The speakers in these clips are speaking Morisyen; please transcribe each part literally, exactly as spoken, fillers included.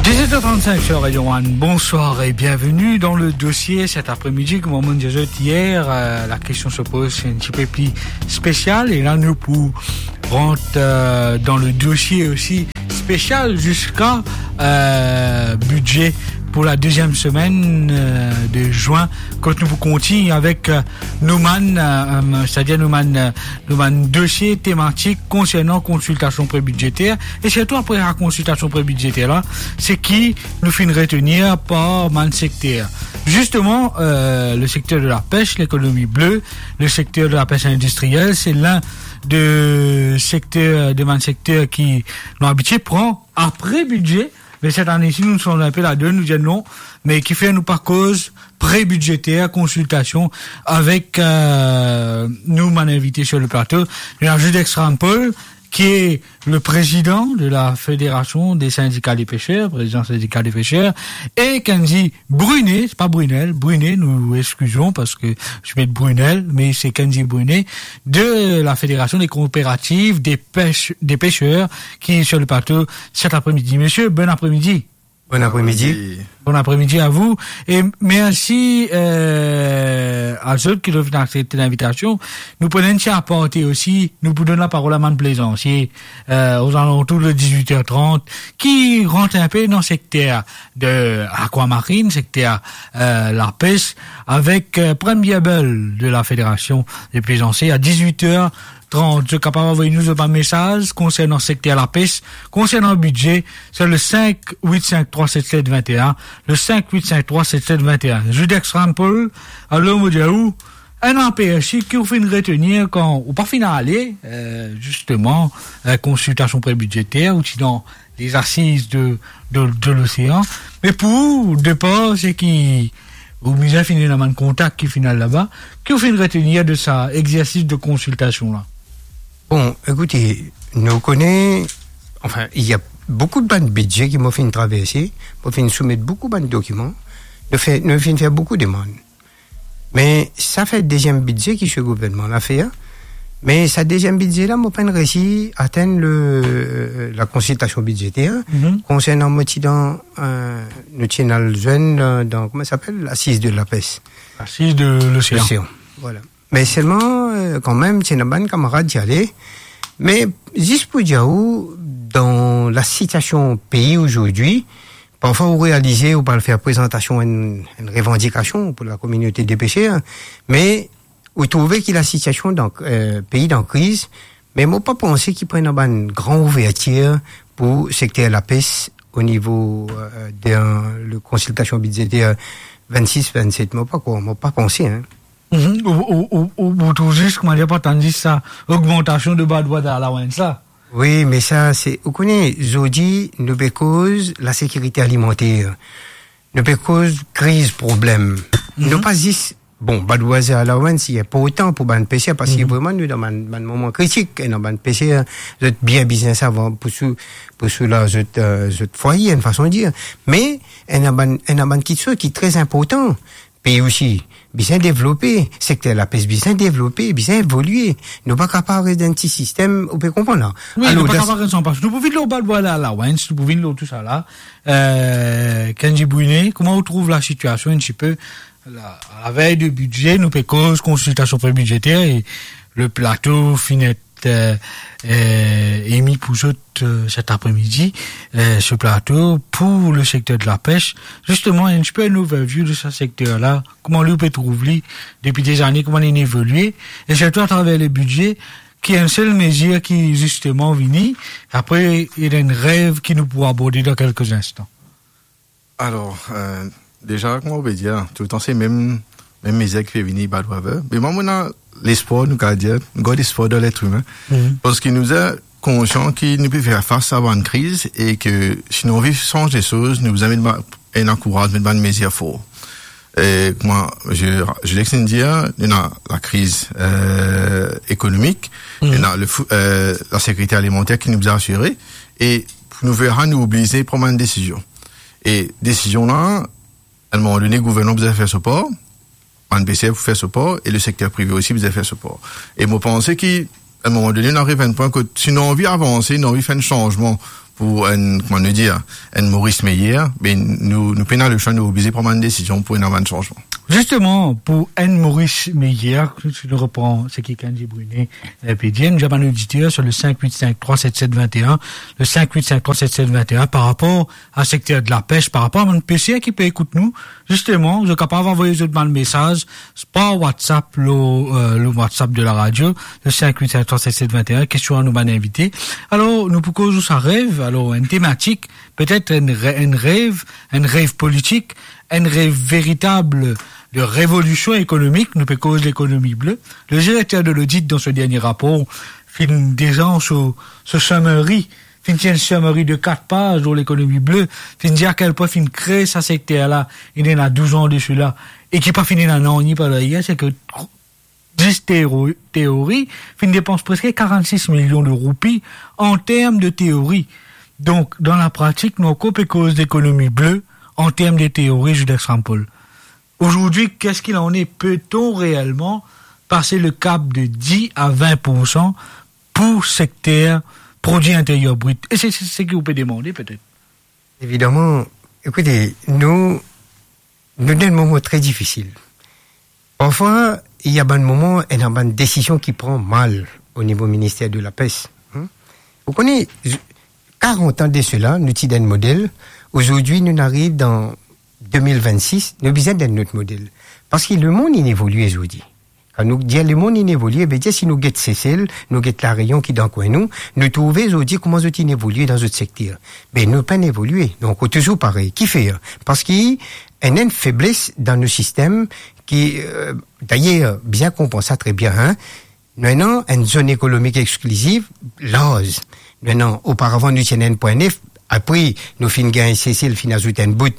Dix-sept heures trente-cinq sur Radio One, bonsoir et bienvenue dans le dossier cet après-midi. Kouma mo'nn dir zot yer, euh, la question se pose, c'est un petit peu plus spécial. Et là, nous pour rentrer, euh, dans le dossier aussi spécial jusqu'à, euh, budget pour la deuxième semaine, euh, de juin, quand nous continuons avec, euh, nou bann, euh, euh, c'est-à-dire nou bann, euh, nou bann dosie tematik konsernan konsiltasion prebidzeter, e sirtou apre sa konsiltasion prebidzeter la, seki nou finn retenir par bann sekter. Zisteman, euh, le secteur de la pêche, l'économie bleue, le secteur de la pêche industrielle, c'est l'un de secteur, de bann sekter ki nou abitie pran apre bidze, me set ane isi, nou sanz inpe ladan, nou dir non, me kifer nou pa koz prebidzeter, konsiltasion avek, euh, nou bann invite sur le plato. Nou ena Judex Rampol, qui est le président de la Fédération des syndicats des pêcheurs, président syndicat des pêcheurs, et Kendy Brunet, c'est pas Brunel, Brunet, nous excusons parce que je mets Brunel, mais c'est Kendy Brunet de la Fédération des coopératives des pêche-, des pêcheurs qui est sur le plateau cet après-midi. Monsieur, bon après-midi. Bon après-midi. Bon après-midi à vous. Et merci, euh, à ceux qui ont accepté l'invitation. Nou pou donn enn ti aparté osi, nou pou donn laparol a bann plezansier, euh, aux alentours de dix-huit heures trente, ki rant inpe dan sekter de akwamarinn, sekter, euh, lapes, avek, euh, Prem Biabel de la Fédération des plaisanciers à dix-huit heures trente. Zot kapav avoy nou zot bann mesaz konsernan sekter lapes, konsernan bidze, c'est le cinq huit cinq trois sept sept vingt et un, le cinq huit cinq trois sept sept vingt et un. Judex Rampol, alor mo dir ou, enn apersi ki ou finn retenir kan ou pa finn ale, euh, zisteman, euh, konsiltasion prebidzeter, ou ti dan les assises de, de, de l'océan. Me pou ou, depar, seki ou bizin finn ena bann kontak ki finn al laba, ki ou finn retenir de sa exercice de consultation là? Bon, écoutez, nou kone, enfin, il y a beaucoup de bann bidze ki mo finn traverse, mo finn soumet boukou bann dokiman, nou fe-, nou finn fer boukou demann. Me sa fer deziem bidze ki se gouvernman la fer, me sa deziem bidze la, mo pa'nn resi atenn le, la konsiltasion bidzeter, mhm, konsernan mo ti dan, euh, nou ti ena al zwenn dan, dan, kouma sa apel, Assises de la pêche. Assises de l'océan. L'océan, voilà. Me selman, euh, kanmem, ti ena bann kamarad ti ale. Me zis pou dir ou, dan la sitiasion pei azordi, parfwa ou realize, ou pou al fer prezantasion enn, enn revandikasion pou la kominote de peser, me ou trouve ki la sitiasion dan, euh, pei dan kriz, me mo pa panse ki pou ena bann gran ouvertir pou sekter lapes o nivo, euh, de, euh, le konsiltasion bidzeter vennsis vennset. Mo pa krwar, mo pa panse, hein. Mhm. Ou, ou, ou, ou, ou trouv zis, kouma dir, pa tann zis sa ogmantasion de badwaz allowance la? Wi, me sa, se, ou kone, zordi, nou pe koz lasekirite alimanter. Nou pe koz kriz, problem. Mhm. Nou pa zis, bon, badwaz allowance, li inportan pou bann peser, parski, mhm, vreman, nou dan bann, bann moman kritik, ena bann peser, zot bien bizin sa pou sou-, pou soulaz zot, euh, zot fwaye, enn fason dir. Me, ena bann, ena bann kiksoz ki tre inportan. Pei osi bizin devlope, sekter lapes bizin devlope, bizin evolie. Nou pa kapav res dan enn ti sistem, ou pe konpran la? Wi, alor, nou pa dan kapav res anpas. Nou pou vinn lor badwaz allowance, nou pou vinn lor tou sa la. Euh, Kendy Brunet, kouma ou trouv lasitiasion enn tipe la, a la vey de bidze, nou pe koz konsiltasion prebidzeter e le plato finn et euh, euh, emi pou zot, euh, set apremidi, euh, se plato pou le sekter de lapes. Zisteman, enn tipe enn overview de sa sekter la, kouma li ou pe trouv li depi dezane, kouma li evolie, e sirtou atraver le bidze, ki enn sel mezir ki zisteman vini, apre, ena enn rev ki nou pou aborde dan kelke instan. Alor, euh, deza, kouma ou pe dir, toultan se mem, mem mezir ki pe vini, bad weather. Me mwa, mo ena lespwar, nou kapav dir, nou gard lespwar dan letremin. Mhm. Parski nou dir konsian ki nou pe fer fas a bann kriz e ke si nou anvi sanz de soz, nou bizin met ba-, enn ankouraz, met bann mezir for. E kouma Judex inn dir, nou ena lakriz, euh, ekonomik, mhm, nou ena le fou-, euh, lasekirite alimanter ki nou bizin asire, e pou nou fer sa, nou oblize pran bann desizion. E desizion la, a enn moman done, gouvernman bizin fer so par, bann peser pou fer so par, e le sekter prive osi bizin fer so par. E mo panse ki, a enn moman done, nou ariv a enn pwin kot, si nou anvi avanse, nou anvi fer enn sanzman pou enn, kouma nou dir, enn Moris meyer, be nou, nou pena leswa, nou oblize pran bann desizion pou ena bann sanzman. Zisteman, pou enn Moris meyer, si nou repran seki Kenji Brunet, eh, pe dir, nou dir bann oditer sur le cinq huit cinq trois sept sept vingt et un, le cinq huit cinq trois sept sept vingt et un, par rapor a sekter de lapes, par rapor a bann peser ki pe ekout nou, zisteman, zot kapav avoy zot bann mesaz par WhatsApp, lor, eh, lor WhatsApp de la radio, le cinq huit cinq trois sept sept vingt et un, kestion a nou bann invite. Alor, nou pou koz lor sa rev, alor, enn tematik, petet enn re-, enn rev, enn rev politik, enn rev veritab de revolision ekonomik, nou pe koz lekonomi ble. Le direkter de lodit, dan so dernie rapor, finn deza so, so summary, finn ti enn summary de kat paz lor lekonomi ble, finn dir a kel pwin finn kre sa sekter la, ena douz an de sela, e ki pa finn ena nanye par deryer, se ke zis teori, teori, finn depans preske quarante-six millions de roupies an term de teori. Donk, dan lapratik, nou ankor pe koz lekonomi ble an term de teori, Judas Rampol. Aujourd'hui, qu'est-ce qu'il en est ? Peut-on réellement passer le cap de dix à vingt pour cent pour sekter prodwi interier brit ? E se, se, se ki ou pe demande, petet. Evidaman, ekoute, nou, nou dan enn moman tre difisil. Parfwa, ena bann moman, ena bann desizion ki pran mal o nivo minister de lapes, hmm? Ou kone, z-, karant an de sela, nou ti dan enn model. Ozordi, nou ariv dan de mil vennsis, nou bizin dan enn lot model. Parski lemond inn evolie ozordi. Kan nou dir lemond inn evolie, vedir si nou get Sesel, nou get La Réunion ki dan kwin nou, nou trouve ozordi kouma zot inn evolie dan zot sekter. Be nou pa'nn evolie, nou ankor touzour parey. Kifer? Parski ena enn febles dan nou sistem ki, eh, dayer, bizin konpran sa tre bien, hein. Nou ena enn zone ekonomik exkliziv larz. Nou ena, oparavan, nou ti ena enn pwin nef, apre, nou finn gagn Sesel, finn azout enn bout.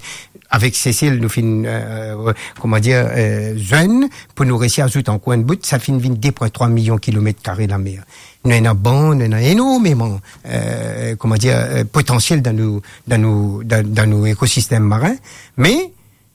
Avek Sesel, nou finn, eh, kouma dir, eh, zwenn, pou nou resi azout ankor enn bout, sa finn vinn de pwin trwa milion kilomet kare lamer. Nou ena bann, nou ena enormeman, eh, kouma dir, eh, potansiel dan nou, dan nou, dan, dan nou ekosistem marin. Me,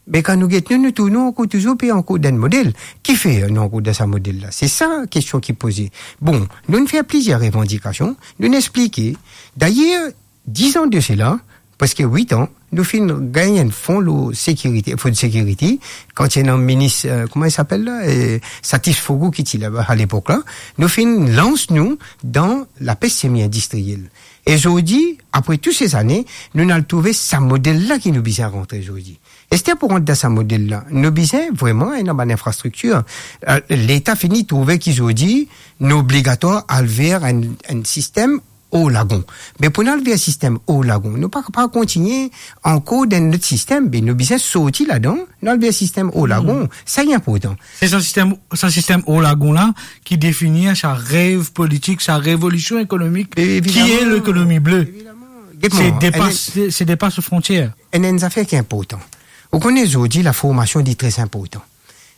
me kan nou get nou, nou trouv nou ankor touzour pe ankor dan enn model. Kifer nou ankor dan sa model la? Se sa kestion ki poze. Bon, nou'nn fer plizier revandikasion, nou'nn explike. Dayer, diz an de sela, preske wit an, nou finn gagn enn fon lor sekirite, food security, kan ti ena minis, eh, kouma li apel la, eh, Satis Fogu ki ti la a lepok la, nou finn lans nou dan lapes semi-indistriel. E zordi, apre tou se zane, nou'nn al trouve sa model la ki nou bizin rantre zordi. Ester pou rant dan sa model la, nou bizin vreman ena bann infrastriktir. Eh, Leta fini trouve ki zordi, nou obligatwar al ver enn, enn sistem or lagon. Me pou nou al ver sistem or lagon, nou pa, pa kontigne ankor dan enn lot sistem, be nou bizin sorti ladan, nou al ver sistem or lagon. Hmm. Sa li inportan. Se sa sistem, sa sistem or lagon la ki definir sa rev politik, sa revolision ekonomik, ki e lekonomi ble. Evidaman. Evidaman. Get mwa, se depas, enn, se, se depas frontier. Enn, enn zafer ki inportan. Ou kone zordi, laformasion li tre inportan.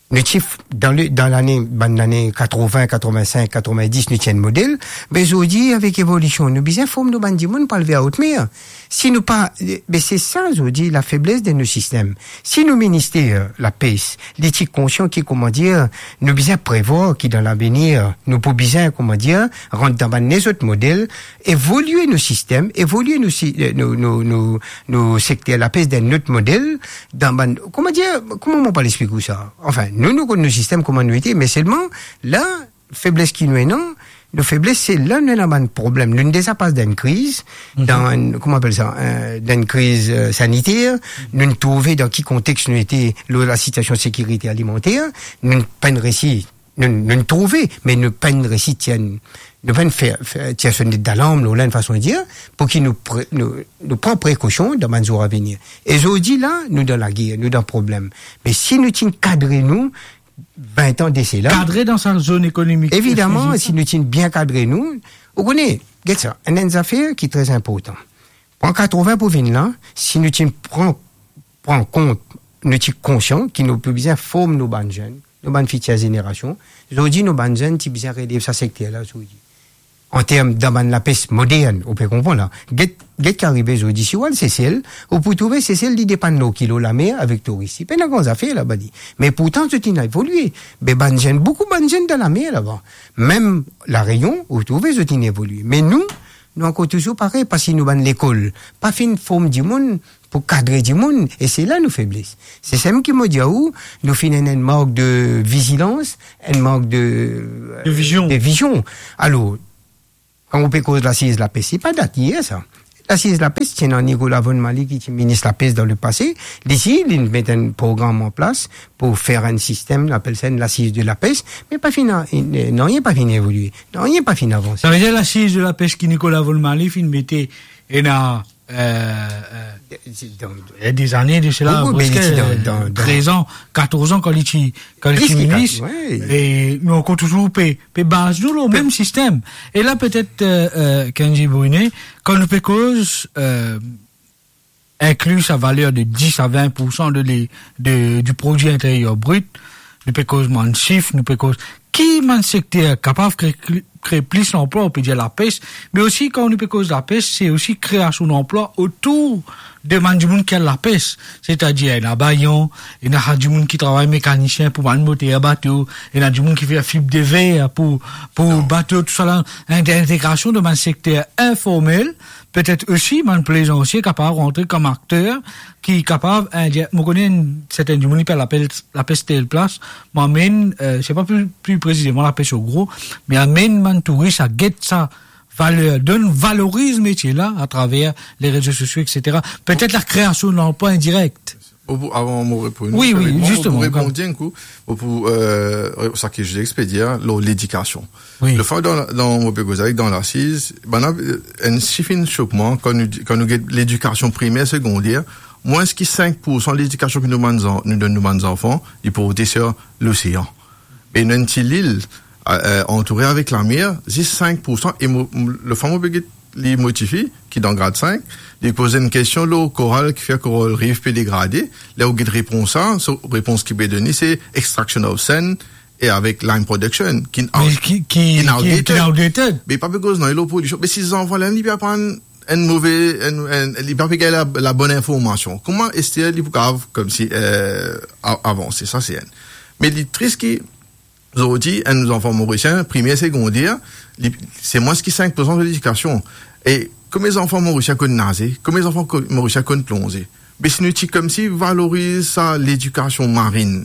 Nou ti f-, dan le, dan lane, bann lane katrovin, katrovin-sink, katrovin-dis, nou ti enn model. Me zordi, avek evolision, nou bizin form nou bann dimoun pou al ver haute mer. Si nou pa, eh, be se sa zordi lafebles de nou sistem. Si nou minister lapes, li ti konsian ki, kouma dir, nou bizin prevwar ki dan lavenir, nou pou bizin, kouma dir, rant dan bann lezot model, evolie nou sistem, evolie nou si-, eh, nou, nou, nou, nou sekter lapes dan enn lot model, dan bann, kouma dir, kouma mo pou al explik ou sa? Anfin, nou, nou konn nou sistem kouma nou ete, me selman, la, febles ki nou ena, nou febles, se la nou ena bann problem. Nou'nn deza pas dan enn kriz, dan enn, kouma apel sa, eh, dan enn kriz, eh, saniter, nou'nn trouve dan ki kontex nou ete, lor lasitiasion sekirite alimanter, nou pa'nn resi, nou, nou'nn trouve, me nou pa'nn resi tir, nou pa'nn fer, fer, tir sonet dalarm, nou, la, enn fason de dir, pou ki nou pre-, nou, nou pran prekosion dan bann zour avenir. E zordi la, nou dan lager, nou dan problem. Me si nou ti kadre nou, vin an de sela. Kadre dan sa zone ekonomik. Evidaman, si nou ti bien kadre nou, ou kone, get sa, enn, enn zafer ki tre inportan. An katrovin pou vinn la, si nou ti pran, pran kont, nou ti konsian ki nou pou bizin form nou bann zenn, nou bann fitir zenerasion. Zordi, nou bann zenn ti bizin relev sa sekter la zordi. An term dan bann lapes modern, ou pe konpran la. Get, get ki arive zordi, si ou al Sesel, ou pou trouve Sesel, li depann lor ki, lor lamer avek touris. Li pena gran zafer laba li. Me pourtan, zot inn evolie. Be bann zenn, boukou bann zenn dan lamer laba. Mem La Réunion, ou trouve zot inn evolie. Me nou, nou ankor touzour parey, parski nou bann lekol pa finn form dimoun pou kadre dimoun, e se la nou febles. Se sa mem ki mo dir ou, nou finn ena enn mank de vizilans, enn mank de, De vizion. de vizion. Alor, kan ou pe koz lasiz lapes, se pa dat yer sa. Lasiz lapes, ti ena Nicolas Von Maly ki ti minis lapes dan lepase, li ti, li met enn program an plas pou fer enn sistem, nou apel sa enn lasiz de lapes, me pa finn, nanye pa finn evolie, nanye pa finn avanse. Savedir lasiz de lapes ki Nicolas Von Maly finn mete ena, euh, euh, Ti dan, eh, dezane de sela, Boukou, preske, me li ti dan, euh, dan, dan trez an, katorz an, kan li ti, kan li Plis ti ki minis, kat, wi. E nou ankor touzour pe, pe baz nou lor mem sistem. E la, petet, euh, euh, Kenji Brunet, kan nou pe koz, euh, inkli sa valer de dis a vin poursan de le-, de, di prodwi interier brit, nou pe koz bann sif, nou pe koz ki bann sekter kapav kre-, kre-, kree plis lanplwa, ou pe dir lapes, me osi, kan nou pe koz lapes, se osi kreasion lanplwa otour de bann dimoun ki al lapes. Setadir, ena bayon, ena dimoun ki travay mekanisien pou bann moter bato, ena dimoun ki fer fib de ver pou, pou bato, tousala, ent-, entegrasion de bann sekter informel, petet osi bann plezansie kapav rantre kom akter ki kapav, eh, dir, mo kone enn serten dimoun, li pe al lapes, lapes tel plas, mo amenn, euh, se pa pli, pli presizeman lapes ogro, me amenn bann touris a get sa valer, donn, valoriz metie la atraver le rezo sosio, et cetera. Petet lakreasion lanplwa indirek. Bon, pou, avan mo reponn, Wi, wi, permet mwa, mo pou zisteman, reponn kan- enn kou, mo pou, euh, sa ki Joseph pe dir, lor ledikasion. Wi. Lefwa dan, dan, mo pe koze avek dan lasiz, bann, euh, enn sif inn sok mwa, kan nou di, kan nou get ledikasion primer, segondier, mwins ki sink poursan ledikasion ki nou bann zan-, nou donn nou bann zanfan, li porte sir losean. E nou enn ti lil, euh, antoure avek lamer, zis sink poursan, e mo, mo, lefwa mo pe get li motifie, ki dan grad sink, li poz enn kestion lor koral ki fer Coral Reef pe degrade, ler ou get repons sa, so repons ki pe done, se extraction of sand, e avek lime production, ki Me ki, ki, ki, ki outdated. ki outdated. Me pa pe koz nanye lor prodiksion. Me si zanfan la, li pe aprann enn move, enn, enn, li pa pe gagn la, la bonn informasion. Kouma ester li pou kapav, koumsi, euh, a-, avanse? Sa se enn. Me li tris ki, zordi, enn zanfan morisien, primer, segondier, li, se mwins ki sink poursan de ledikasion. E komie zanfan morisien konn naze, komie zanfan ko-, morisien konn plonze. Me si nou ti koumsi valoriz sa ledikasion marin,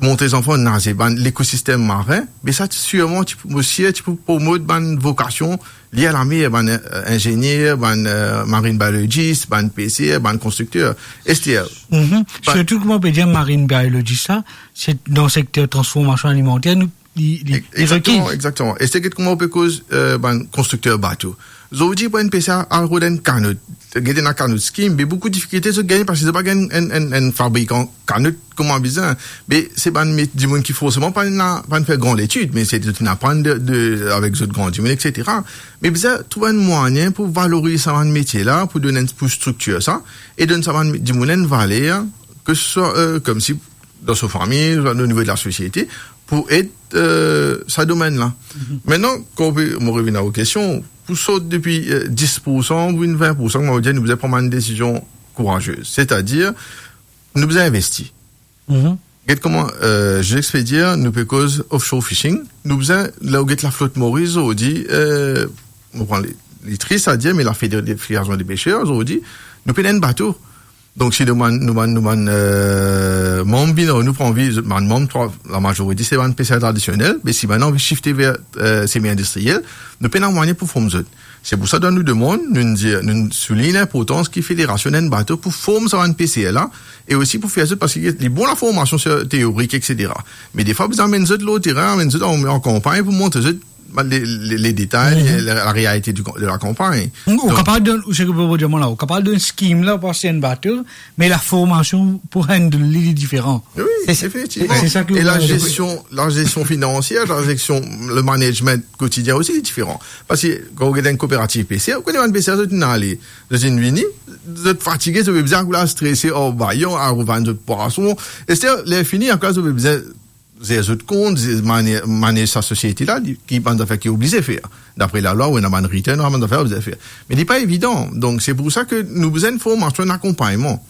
montre zanfan naze, bann lekosistem marin, me sa ti sirman ti pou, osi ti pou promot bann vokasion lie a lamer, bann, euh, inzenier, bann, euh, marine biologist, bann peser, bann konstrikter, et cetera. Mhm. Bann Sirtou, kouma ou pe dir marine biologist sa, se dan sekter transformasion alimanter, nou, li, li, Ex-, li ekzakteman, rekil. Ekzakteman. E se get kouma ou pe koz, euh, bann konstrikter bato. Zordi, pou enn peser al rod enn kanot, get ena kanot scheme, me boukou difikilte zot gagn parski zot pa gagn enn, enn, enn fabrikan kanot kouma bizin. Me se bann met-, dimoun ki forseman pa ena, pa fer gran letid, me se zot inn aprann de, de, avek zot gran dimoun, et cetera. Me bizin trouv enn mwayin pou valoriz sa bann metie la, pou donn enn, pou striktir sa, e donn sa bann dimoun enn valer, ke se swa, euh, koumsi dan so fami, o nivo de lasosiete, pou ed, euh, sa domenn la. Mhm. Aster, kan ou pe, mo revinn a ou kestion, pou sort depi, euh, dis poursan pou vinn vin poursan, kouma ou dir, nou bizin pran bann desizion kouraze. Setadir, nou bizin investi. Mhm. Get kouma, euh, Joseph pe dir, nou pe koz offshore fishing, nou bizin, ler ou get laflot Moris, zordi, euh, mo pran li, li tris a dir, me la Fédé-, Fédération des pêcheurs, zordi, nou pena enn bato. Donk, si nou bann, nou bann, nou bann, euh, manm vinn, nou pran anvi, zot bann manm, trwa, lamazorite se bann peser tradisionel, me si bann anvi shifte ver, euh, semi-industriel, nou pena mwayin pou form zot. Se pou sa, dan nou demann, nou dir, nou soulign linportans ki federasion ena enn bato pou form sa bann peser la, e osi pou fer zot, parski li bon laformasion sir teorik, et cetera. Me defwa, bizin amenn zot lor terin, amenn zot an, an kanpagn pou montre zot, ba, le, le, le detay, Mhm. le, la realite di, de la kanpagn. Ou Donk, kapav donn, ou, seki mo dir mwa la, ou kapav donn scheme la, pou aste enn bato, me laformasion pou handle li, li diferan. Wi, Se sa. efektivman. Se sa ki E la ou gestion, la gestion financière, la gestion, le management quotidien osi, li diferan. Parski kan ou get enn kooperativ peser, ou kone bann peser, zot inn ale, zot inn vini, zot fatige, zot pe bizin ankor la strese, o, bayon, al revann zot pwason. Aster, ler fini, ankor zot pe bizin zer zot kont, zer mane-, manez sa sosiete la, li, ki bann zafer ki oblize fer. Dapre lalwa, ou ena bann return, ou ena bann zafer oblize fer. Me li pa evidan. Donk, se pou sa ke nou bizin formasion, akonpagnman.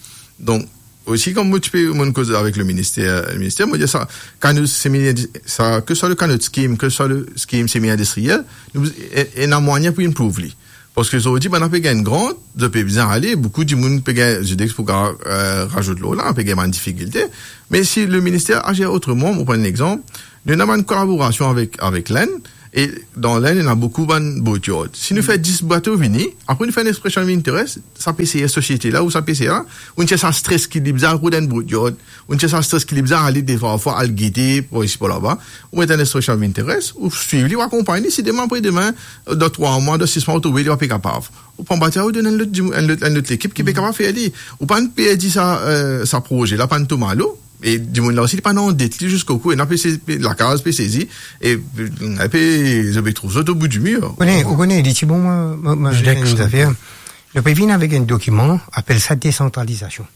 Donk, osi, kan mo ti pe, mo koz avek le minister, le minister, mo dir sa, kanot semi, sa, ke swa le kanot scheme, ke swa le scheme semi-industriel, nou, e, ena mwayin pou improve li. Parski zordi, bann pe gagn grant, zot pe bizin ale, boukou dimoun pe gagn, zot pou, eh, razout lor la, pe gagn bann difikilte. Me si le minister azer otreman, mo pran enn exanp, nou ena bann kolaborasion avek, avek Lenn, e dan Lenn, ena boukou bann boatyard. Si nou fer dis bato vini, apre nou fer enn expression of interest, sa P C R sosiete la ou sa P C R la, ou ena sa stres ki li bizin al rod enn boatyard, ou ena sa stres ki li bizin ale defwa, fwa al gete, par isi, par laba, ou met enn expression of interest, ou swiv li, ou akonpagn li, si demin, apre demin, dan trwa mwa, dan sis mwa, ou trouve li pa pe kapav. Ou pran bato, ou donn enn lot dimoun, enn lot, enn lot lekip ki pe kapav fer li. Ou pa perdi sa, eh, sa proze la, pa to malo. E dimoun la osi, li pa dan det li ziska kou, ena pe se-, lakaz pe sezi, e, eh, pe, zot pe trouv zot o bout di mir. Ou kone, ou kone, li ti bon, mwa, mwa, mwa, Judex, enn zafer. Nou pe vinn avek enn dokiman, apel sa desantralizasion.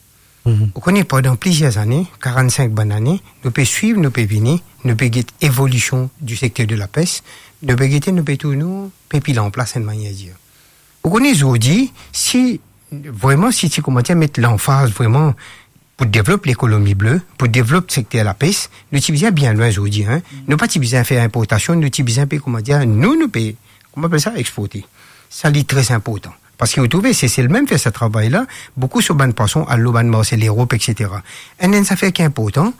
Mhm. Ou kone, pandan plizier zane, karannsink bann ane, nou pe swiv, nou pe vini, nou pe get evolision di sekter de lapes, nou pe gete, nou pe trouv nou pe pil an plas enn manier dir. Ou kone zordi, si vreman, si ti koumadir met lanfaz vreman pou devlop lekonomi ble, pou devlop sekter lapes, nou ti bizin bien lwin zordi, en. Nou pa ti bizin fer inportasion, nou ti bizin pe, koumadir, nou, nou pe, kouma apel sa, exporte. Sa li tre inportan. Parski ou trouve, Sesel mem fer sa travay la, boukou so bann pwason al lor bann marse Lerop, et cetera. Enn, enn zafer ki inportan,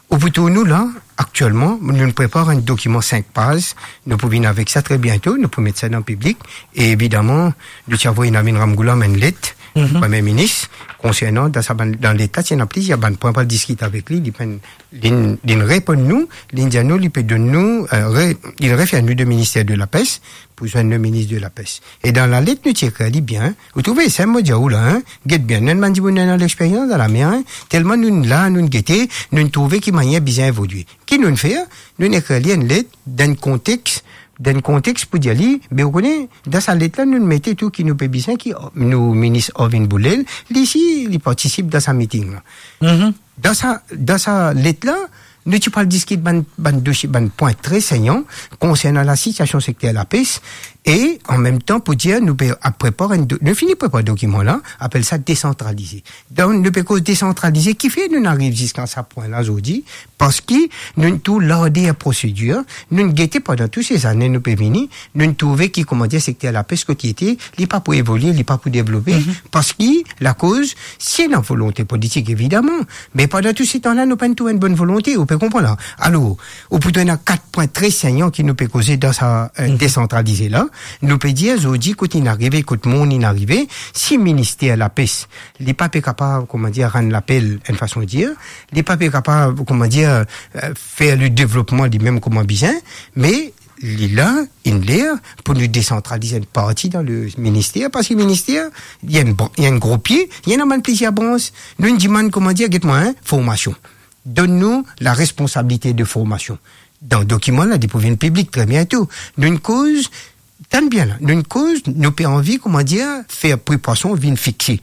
ou pou trouv nou la, aktielman, nou prepar enn dokiman sink paz, nou pou vinn avek sa tre biento, nou pou met sa dan piblik, e evidaman, nou ti avoy Navin Ramgoolam enn let, Mhm. Premie Minis, konsernan dan sa bann, dan let la, ti ena plizier bann pwin pou al diskit avek li, li pran, li, li reponn nou, li dir nou, li pe donn nou, eh, re-, li refer nou de minister de lapes, pou zwenn le minis de lapes. E dan lalet nou ti ekrir li bien, ou trouve, sa mo dir ou la, en, get bien, nou enn bann dimoun ena lexperyans dan lamer, en, telman nou la, nou gete, nou trouve ki manier bizin evolie. Ki nou fer? Nou ekrir li enn let, dan konteks, dan konteks pou dir li, be ou kone, dan sa let la, nou mete tou ki nou pe bizin, ki nou minis Arvind Boolel, li si, li partisip dan sa miting la. Mhm. Dan sa, dan sa let la, nou ti pou al diskit bann, bann dosie, bann pwin tre senyan konsernan lasitiasion sekter lapes, e an mem tan pou dir nou pe ap prepar enn do-, nou fini prepar dokiman la, apel sa desantralize. Donk, nou pe koz desantralize, kifer nou ariv ziska sa pwin la zordi, parski nou tou larder prosedir, nou gete pandan tou se zane nou pe vini, nou trouve ki, koumadir, sekter lapes kot li ete, li pa pou evolie, li pa pou devlope, Mhm. parski lakoz, si ena volonte politik, evidaman, me pandan tou se tan la, nou pa trouv enn bonn volonte, ou pe konpran la. Alor, ou pou ena kat pwin tre senyan ki nou pe koze dan sa, eh, Mhm. desantralize la. Nou pe dir, zordi, kot inn arive, kot monn inn arive, si minister lapes, li pa pe kapav, koumadir, rann lapel, enn fason dir, li pa pe kapav, koumadir, eh, fer le devlopman li mem kouma bizin, me li la, inn ler pou nou desantraliz enn parti dan le minister, parski minister, li ena enn br-, li ena enn gro pie, li ena bann plizier brans. Nou, nou dimann, koumadir, get mwa, en, formasion. Donn nou laresponsabilite de formasion. Dan dokiman la, li pou vinn piblik tre biento. Nou, nou koz, tann bien la, nou, nou koz, nou pe anvi, koumadir, fer pri pwason vinn fixe.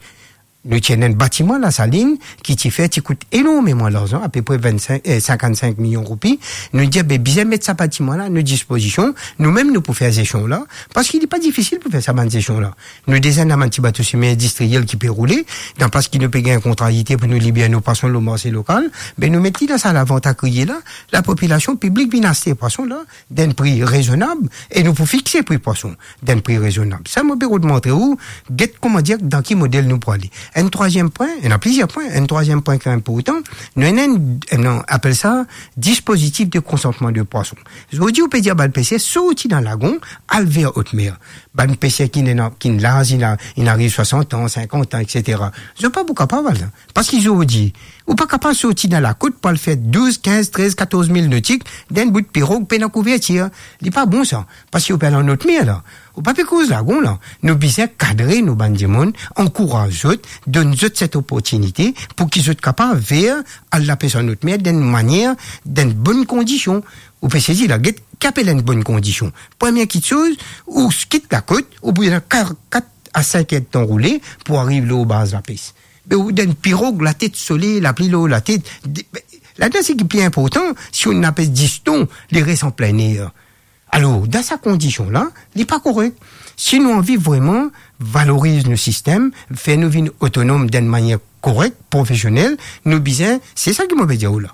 Nou ti ena enn batiman Lasalinn ki ti fer, ti kout enormeman larzan, apepre vinn-sink, eh, sinkant-sink milion roupi. Nou dir, be, bizin met sa batiman la a nou dispozision, nou mem nou pou fer zesion la, parski li pa difisil pou fer sa bann zesion la. Nou deza ena bann ti bato semi-indistriel ki pe roule, dan plas ki nou pe gagn kontrarite pou nou liber nou pwason lor marse lokal, be, nou met li dan sa lavant a kriye la, lapopilasion, piblik vinn aste pwason la, dan enn pri rezonab, e nou pou fixe pri pwason dan enn pri rezonab. Sa mo pe rod montre ou, get, koumadir, dan ki model nou pou ale. Enn trwaziem pwin, ena plizier pwin, enn trwaziem pwin ki inportan, nou ena enn, enn, nou apel sa dispozitif de konsantman de pwason. Zordi ou pe dir bann peser sorti dan lagon, al ver otmer. Bann peser ki ena, ki laz, inn a-, inn ariv swasant an, sinkant an, et cetera. Zot pa pou kapav al la. Parski zordi, ou pa kapav sorti dan lakot pou al fer douz, kinz, trez, katorz mil notik dan enn bout pirog pena kouvertir. Li pa bon sa, parski ou pe al an otmer la. Ou pa pe koz lagon la. Nou bizin kadre nou bann dimoun, ankouraz zot, donn zot set oportinite pou ki zot kapav ver al lapes an otmer dan enn manier, dan enn bonn kondision. Ou pe sezi la, get ki apel enn bonn kondision. Premie kiksoz, ou kit lakot, ou pou ena ka-, kat a sink er de tan roule pou ariv lor baz lapes. Be ou dan enn pirog, latet sole, lapli lor latet. De-, be, ladan seki pli inportan, si ou ena pes dis ton, li res an plin er. Alor, dan sa kondision la, li pa korek. Si nou anvi vreman valoriz nou sistem, fer nou vinn otonom dan enn manier korek, profesionel, nou bizin, se sa ki mo pe dir ou la.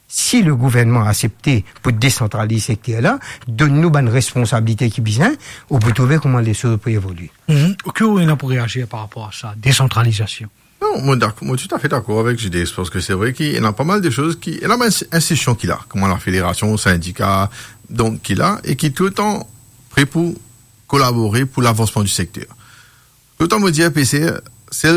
Si le gouvernman aksepte pou desantraliz sekter la, donn nou bann responsabilite ki bizin, ou pou trouve kouma lesoz pou evolye. Mhm. Ki ou ena pou reazir par rapor a sa, desantralizasion? Non, mo dak-, mo toutafe dakor avek J D S, parski se vre ki ena pa mal de soz ki, ena bann institision ki la, kouma la federasion, sindika, donk ki la, e ki touletan pre pou kolabore pou lavansman di sekter. Touletan mo dir, P C R, sel